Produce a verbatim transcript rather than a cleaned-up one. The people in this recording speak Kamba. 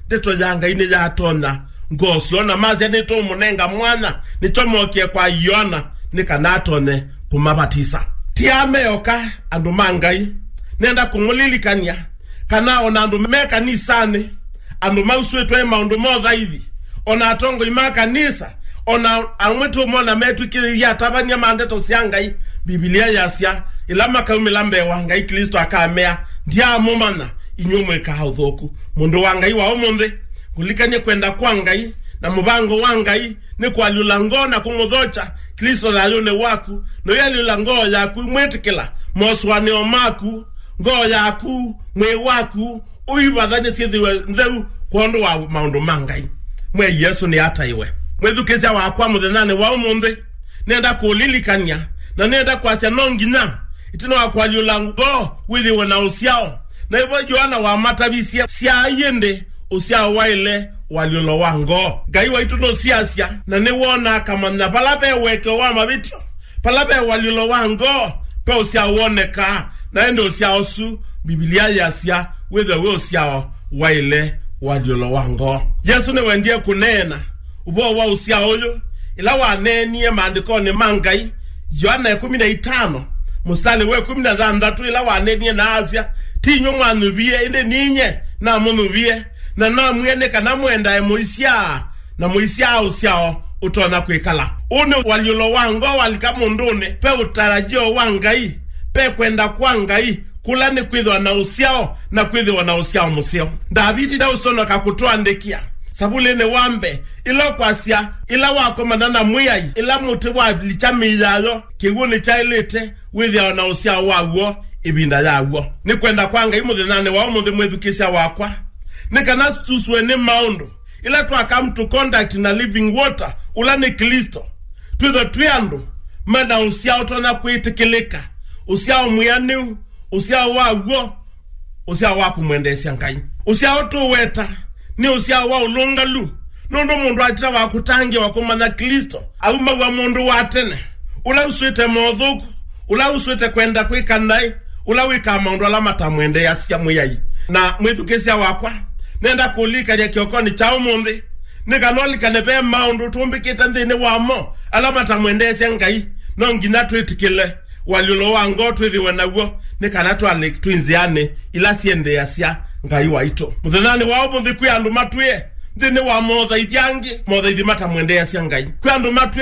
Ndeto ya Ngai nĩyatonya ngoo syoo, na masya, "Nĩtũũmũnenga mwanya." Nĩkyo mookie kwa Yoana, nĩ kana atonye kũmavatisa. Ti aa meoka, andũ ma Ngai. Nenda kũmũlilikany'a kana o na andũ me kanisanĩ, andũ mausũĩtwe maũndũ ma ũthaithi, o na atongoi ma kanisa, o na amwe tũmona metw'ĩkĩthĩthye atavany'a ma ndeto sya Ngai. Mbivilia yasya, ĩla makaumĩla mbee wa Ngai, Klĩsto akamea, "Ndyaamũmanya, inyw'ĩ mwĩkaa ũthũku." Mũndũ wa Ngai wa ũmũnthĩ, kũlikany'a kwenda kwa Ngai na mũvango wa Ngai nĩ kũalyũla ngoo na kũmũthokya Klĩsto thayũnĩ waku, na ũyalyũla ngoo yaku imwĩtĩkĩla mosũanĩo maku, ngoo yaku, mwĩĩ waku, ũivathany'e syĩthĩwe ntheu kwondũ wa maũndũ ma Ngai. Mwĩai Yesũ nĩataĩwe. Mwĩthukĩĩsya wakwa, mũthenyanĩ wa ũmũnthĩ, nenda kũũlilikany'a, na nenda kwasya no nginya, ĩtina wa kũalyũla ngoo, wĩthĩwe na ũsyao. Na ĩvo Yoana wamatavisye, syaai ĩndĩ ũsyao waĩle ũalyũlo wa ngoo. Ngai waitũ nũsiasya, na nĩwonaa akamanya vala ve ũekeo wa mavĩtyo. Vala ve ũalyũlo wa ngoo, ve ũsyao wonekaa, na ĩndĩ ũsyao ũsu, Mbivilia yasya, wĩthwe wĩ ũsyao waĩle ũalyũlo wa ngoo. Yesũ nĩwendie kũneena ũvoo wa ũsyao ũyũ ĩla waneenie maandĩkonĩ ma Ngai, Yoana ĩkũmi na itano, mũsitalĩ wa ĩkũmi na thanthatũ, ĩla waneenie na asya, "Ti inyw'ĩ mwanyuvie, ĩndĩ ninyie namũnyuvie, na namwĩe nĩ kana mũendae mũisyaa, na mũisyaa ũsyao ũtonya kwĩkala." Ũũ nĩ ũalyũlo wa ngoo walika mũndũnĩ. Ve ũtarajio wa Ngai, ve kwenda kwa Ngai, kũla nĩ kwĩthĩwa na ũsyao na kwĩthĩwa na ũsyao mũseo. Ndaviti ndaũsonoka kũtũandĩkĩa Savulĩnĩ wa mbee, ĩla ũkwasya, ĩla wakomana na Mwĩai, ĩla mũtĩ walikya mĩĩ yayo, kĩw'ũ nĩkyaĩlĩte wĩthĩawa na ũsyao waw'o ĩvinda yaw'o. Nĩ kwenda kwa Ngai mũthenyanĩ wa ũmũnthĩ, mwĩthukĩĩsya wakwa, nĩ kana tũsũe nĩ maũndũ ĩla twa come to contact na living water, ũla nĩ Klĩsto, twĩthwe twĩ andũ mena ũsyao ũtonya kwĩtĩkĩlĩka, ũsyao mwĩanĩu, ũsyao wa w'o, ũsyao wa kũmwendeesya Ngai. Ũsyao tũweta nĩ ũsyao wa ũlũngalu, nũndũ mũndũ atitawa kũtangĩĩwa kũmanya Klĩsto, aumaw'a mũndũ wa tene, ũla ũswĩte mothũku, ũla ũswĩte kwenda kwĩka naĩ, ũla wĩkaa maũndũ ala matamwendeeasya Mwĩai. Na mwĩthukĩĩsya wakwa, nenda kũlikany'a kĩokonĩ kya ũmũnthĩ, nĩ kana ũlikane ve maũndũ tũmbĩkĩte nthĩnĩ wamo ala matamwendeesya Ngai. No nginya twĩtĩkĩle ũalyũlo wa ngoo twĩthĩwe naw'o, nĩ kana twalĩ twĩ nzĩanĩ ila syendeeasya Ngai waitũ. Mũthenyanĩ wa ũmũnthĩ, kwĩ andũ matwĩe nthĩnĩ wa mothaithi angĩ, mothaithi matamwendeeasya Ngai. Kwĩ andũ matwĩe